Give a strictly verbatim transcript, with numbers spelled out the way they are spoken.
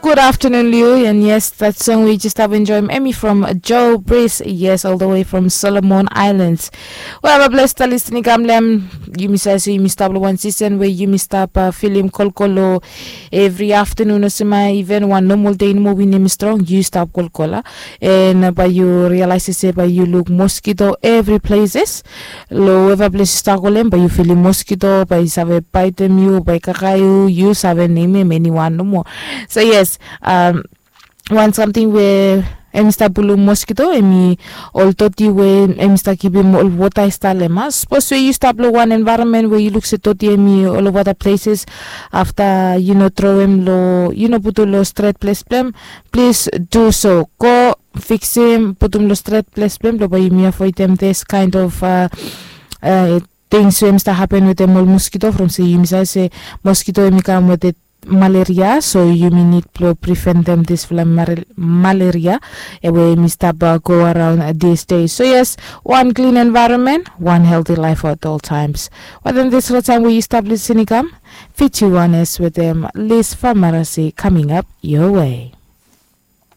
Good afternoon, Liu. And yes, that song we just have enjoyed, Emmy from Joe Breeze. Yes, all the way from Solomon Islands. Well, a blessed listening, Gamlem. Yumi sa so yumi stap lo one season where yumi stap uh, film kolkolo every afternoon or sema even one normal day in movie name strong. You stop kolkola. And uh, by you realize say by you look mosquito every places. Lo weva ples yu stap go lo hem, bae yu filim moskito, bae i save baetem yu, bae i kakae yu, yu save nemem eniwan nomo. So yes, um, wan samting we hemi stap pulum moskito hemi ol doti we hemi stap givim ol wota i stap lo hem. Sapos we yu stap lo wan envaeronmen we yu luk se doti hemi olova da pleses, afta yu no troem lo, yu no putum lo stret ples blong hem, plis du so. Go fiksim, putum lo stret ples blong hem, blong bae yumi avoedem this kind of uh, uh, things we hemi stap hapen wetem ol moskito, from se yumi save se moskito hemi kam wetem malaria, so yumi nid blong preventem disfala malaria we hemi stap uh, go around uh, these days. So yes, one clean environment, one healthy life at all times. Wetem disfala taem we yu stap listening kam, Fiji Wellness wetem Liz Famarasi coming up your way.